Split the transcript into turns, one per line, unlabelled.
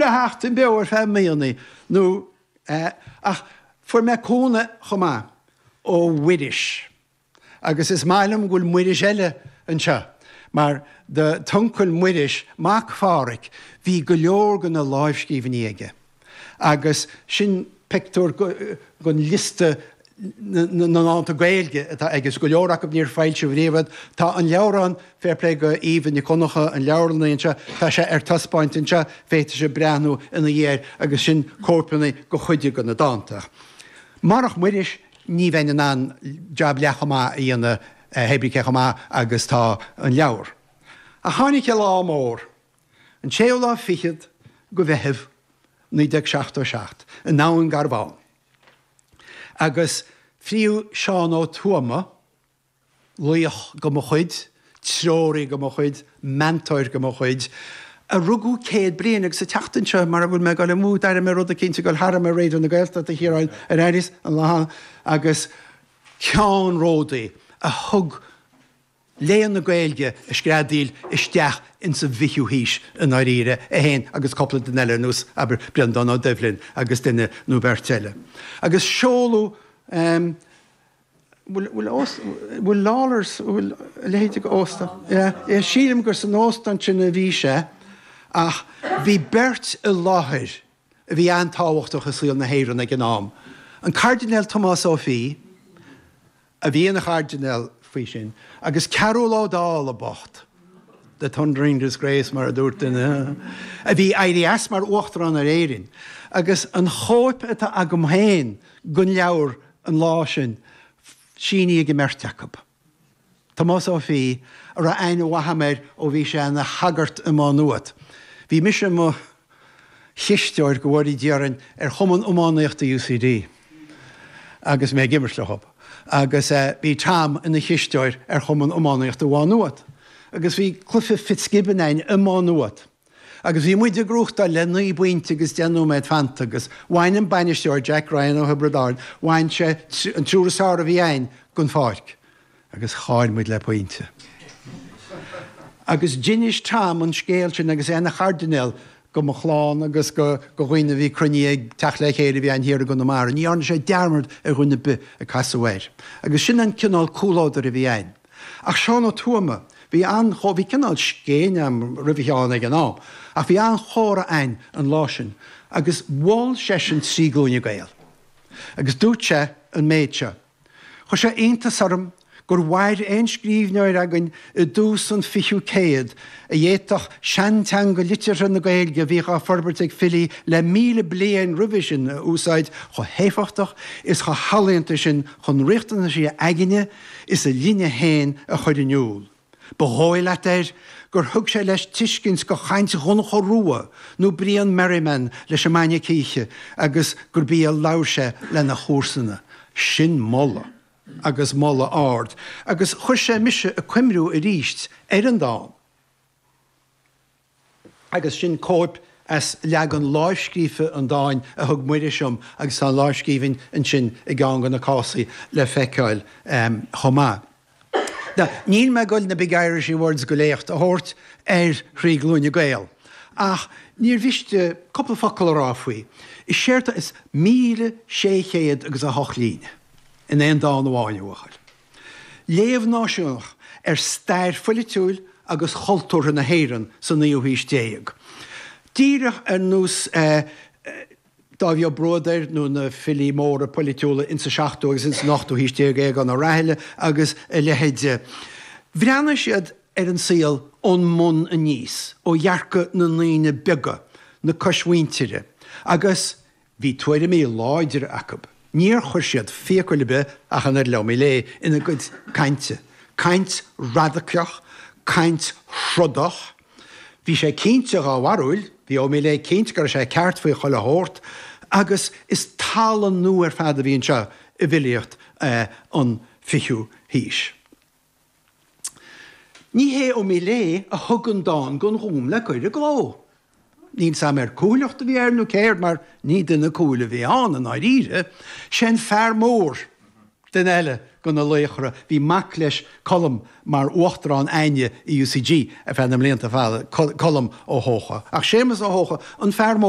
Sheachtain beo ar feadh míonna nó ach fuair mé cúnamh chomh maith ó Mhuiris agus is maith liom go bhfuil Muiris eile anseo mar do t'uncail Muiris, mac Phádhraic, bhí go leor de na lámhscríbhinní aige agus sin pictiúr den liosta na ndánta Gaeilge atá aige, is go leor acu níor foilsíodh riamh iad. Tá an leabhrán, fair play go Eva Nic Dhonncha, an leabharlannaí anseo, tá sé ar taispeáint anseo, féadfaidh sibh breathnú ina dhiaidh air agus sin cóipeanna de chuid de na dánta. Marach Muiris ní bheinn in ann jab leath chomh maith a dhéanamh, hé brí cé chomh maith agus tá an leabhar. Ach tháinig an lá mór, an séú lá fichead de Mheitheamh 1977, i nDún Garbhán. Agus fríodh Seán Ó Tuama, laoch de mo chuid, treoraí de mo chuid, meantóir de mo chuid, a rugadh 100 bliain agus an tseachtain seo, mara bhfuil mé ag dul amú, d'airigh mé rud eicínt ag dul tharam ar Raidió na Gaeltachta, a Chiaráin, ar airíos an lá agus ceannródaí a thug léann na Gaeilge ag screadaíl isteach ins an bhfichiú haois i ndáiríre, é féin agus cúpla duine eile ar nós, abair, Breandán Ó Doibhlin agus duine nó beirt eile. Agus seoladh ehm, bhfuil, bhfuil ós, bhfuil Lawlor's, bhfuil a leithéid de óstán? Yeah, yeah, sílim gur san óstán sin a bhí sé ach bhí beirt i láthair a bhí an-tábhachtach i saol na hÉireann ag an am, an Cairdinéal Tomás Ó Fiaich, a bhí ina chairdinéal faoi sin, agus Cearbhall Ó Dálaigh bocht, the thundering disgrace mar a dúirt duine, a bhí ag éirí as mar Uachtarán ar Éirinn. Agus an chóip atá agam féin den leabhar an lá sin, sínithe ag an mbeirt acu. Tomás Ó Fiaich, a raibh aithne mhaith agam air ó bhí sé ina shagart i Má Nuat. Bhí mise i mo chisteoir, go bhfóire Dia orainn, ar Chumann Iománaíochta UCD agus mé ag imirt leo. Agus bhí Tom ina chisteoir ar Chumann Iománaíochta Mhá Nuat. Agus bhí cluiche Fitzgibbon againn i Má Nuat. Agus bhí muid ag gnóthachtáil le naoi bpointe agus 10 nóiméad fanta agus bhain an bainisteoir, Jack Ryan ó Thiobraid Árann, bhain sé an triúr is fearr a bhí againn den pháirc agus chaill muid le pointe. Agus d'inis Tom an scéal sin agus é ina chairdinéal go mo chlann agus go dhaoine a bhí cruinnithe ag teacht le chéile a bhí ann thiar i gConamara. Ní dhearna sé dearmad ar dhuine ar bith a casadh air. Agus sin an cineál comhluadair a bhí againn. Ach Seán Ó Tuama, bhí an, bhí cineál scéin agam roimh Sheán ag an am, ach bhí an-chomhrá againn an lá sin agus mhol seisean Trí Glúine Gael. Agus dúirt sé an méid seo, Chuir sé iontas orm gur mhair aon scríbhneoir againn i dtús an fichiú céad a d'fhéadfadh seanteanga liteartha na Gaeilge a bhíodh á forbairt ag filí le 1,000 bliain roimhe sin a úsáid chomh héifeachtach is chomh healaíonta sin chun riachtanaisí a aigne is a linne féin a chur in iúl. Ba dhóigh leat air gur thug sé leis tuiscint go chaint Dhonncha Rua nó Brian Merriman leis an mbainne cíche agus gurb í a labhair sé lena chomharsana. Sin moladh, agus moladh ard, agus chuir sé mise ag cuimriú arís ar an dán. Agus sin cóip as leagan lámhscríofa an dáin a thug Muiris dom agus tá an lámhscríbhinn ansin i gceann de na cásaí le feiceáil chomh maith. Now, níl mé ag dul na big Irishy words go léacht a thabhairt ar Thrí Glúine Gael, ach níor mhiste cúpla focal a rá faoi. Is éard is 1,600 agus 8 líne in aon dán amháin, a bhuachaill. Léamh náisiúnach ar stair pholaitiúil agus chultúrtha na hÉireann sa naoú haois déag. Díreach ar nós Dáibhí Ó Bruadair nó na filí móra polaitiúla insa seachtú agus insan ochtú haois déag, Aogán Ó Raithile agus a leithéide. Bhreathnaigh siad ar an saol ón mbun aníos, ó dhearcadh na ndaoine beaga, na coismhuintire, agus Bhí tuairimí láidre acu. Níor chuir siad fiacail ar bith, ach an oiread le Ó Míléidh, ina gcuid cainte. Caint radacach, caint throdach. Bhí sé cinnte dhá bharúil, bhí Ó Míléidh cinnte go raibh sé ceart faoi chuile shórt, agus is tallann nua ar fad a bhí anseo i bhfilíocht an fichiú haois. Ní hé Ó Míléidh a thug an dán don Ghúm le cur i gcló. Níl 's a'm ar cúthaileacht a bhí air nó céard mar ní duine cúthail a bhí ann i ndáiríre. Sé an fear mór. Duine eile de na laochra, bhí mac leis, Colm, mar uachtarán againne i UCG ar feadh na mblianta fada, Colm Ó hEocha. Ach Séamus Ó hEocha, an fear mór.